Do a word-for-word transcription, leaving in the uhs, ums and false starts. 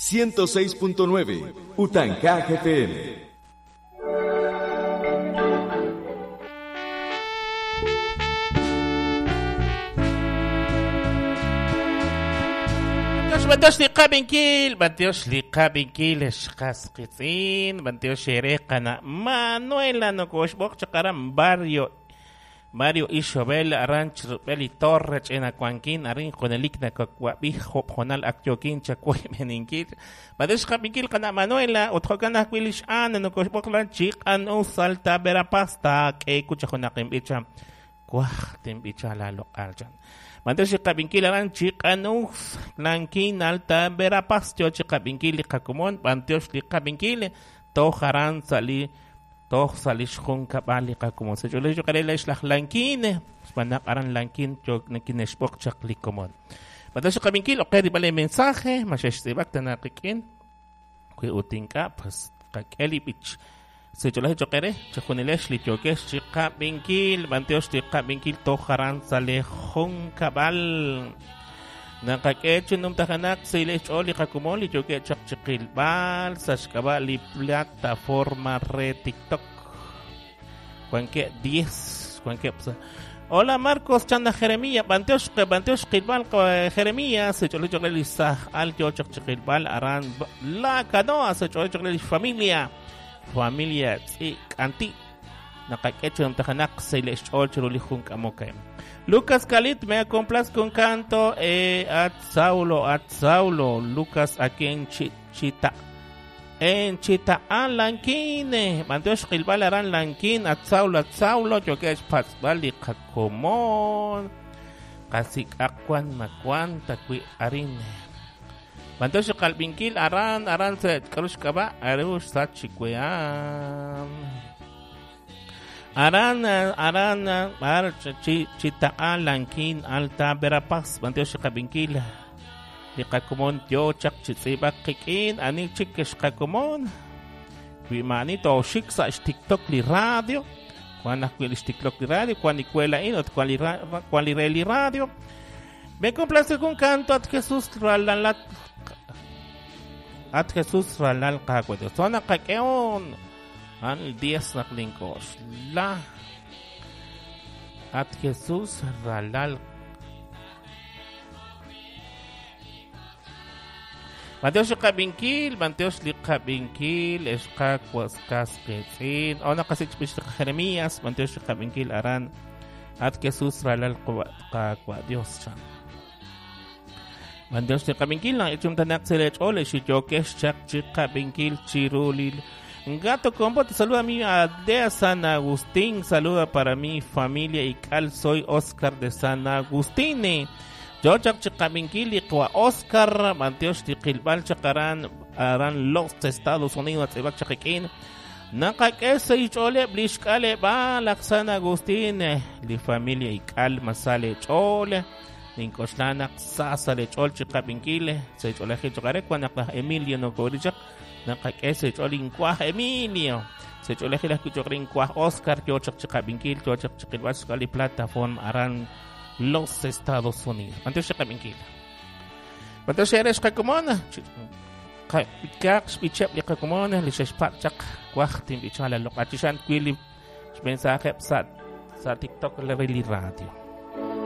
ciento seis punto nueve Utanka F M. Bantiox liqabinkil, bantiox liqabinkil, xqasqitzin, bantiox ereqana Manuela nokoxboq chaqaran barrio Mario Ixobel Ranch Beli Torre chena Cuanquín arin jonelik nakakwabij jonal akyokin chakuimeninkil bantiox qabinkil qana Manuela utjokana kwilish ana nokoxboq lan chiqan u salta verapaz ta ke kuchajonaqinbicha kuaj timbicha la loqalchan. Manteos chiqabinkil aran chiqanux lankin alta verapaz yo chiqabinkil liqakumon manteos liqabinkil tojaran sali toj sali xjunkab'al liqakumon sech'ulej choqarela ixlaj lankin xb'anaq aran lankin yo nakinexb'oq chaq likomon manteos chiqabinkil oqe rib'al mensaje maxextz'ib'ak tanaqiq'in kwi utink'a pues qak'eli b'ich sech'ulej choqere chajunilex lityokex chiqabinkil manteos liqabinkil tojaran sali junkab'al naqak'e chinumtajanak silech ch'ol liqakumon lityoke chaq chiqilb'al saxk'ab'a li plataforma re TikTok cuanque diez cuanque Hola Marcos chanda Jeremías banteos banteos qilbal Jeremías sech'ulej choqere lisaj al yo chaq chiqilb'al aran la canoa sech'ulej choqere familia familia tz'ik anti naqak'echu namtajanak seilech ch'ol chiruli junk'amokay Lucas Calit me complazco un canto eh, at Saulo at Saulo Lucas aquí en Chita en Chita an Lanquine manteos qilbal aran Lanquín at Saulo at Saulo yokesh patzbal liqakomon qasik akwan makwan takwi arine Manteos qalbinkil aran aran se karush kaba arush sachikuean aran aran ar chi chita lankin alta verapaz manteos qalbinkil liqakumon yo chaq chitzibak qikin ani chikesh qakumon wi manito xik sa TikTok li radio cuando TikTok li radio cuando ikuela in ot cual cual li radio me complace con canto at Jesús ralalat at Jesús ralal qaqwe zona qakeon an diez naqlinkos la at Jesús ralal Manteos liqabinkil manteos liqabinkil esqaqwas qasqitzin ona qasich bich Jeremías manteos liqabinkil aran at Jesús ralal qaqwa Dios chan Manteos liqabinkil na ichumtanak selech ole xityokex chaq chiqabinkil chirulil Gato Combo te saluda a mi Aldea San Agustín, saluda para mi familia y cal, soy Oscar de San Agustín. Yo chaq chiqabinkil iqwa Oscar manteos liqilbal chaqaran aran los Estados Unidos atzibak chaqikin naqak'e ich'ole blixk'ale ba laq San Agustín li familia y cal masale ch'ole ninkoxlanak sasale ch'ol chiqabinkil se ch'oleji chaqare cuando Emilio no korichaq naqak'e sech'ol inkuaj Emilio sech'olej laj kuchoqrin inkuaj Oscar yo chaq chiqabinkil yo chaq chiqilb'al xk'ali plataforma aran los Estados Unidos antes chiqabinkil antes eres qakumona kaq xb'icheb li qakumona li xexpak chaq kuaj tinb'ichala loq'achishan kwili xmensaje sa sa TikTok le radio.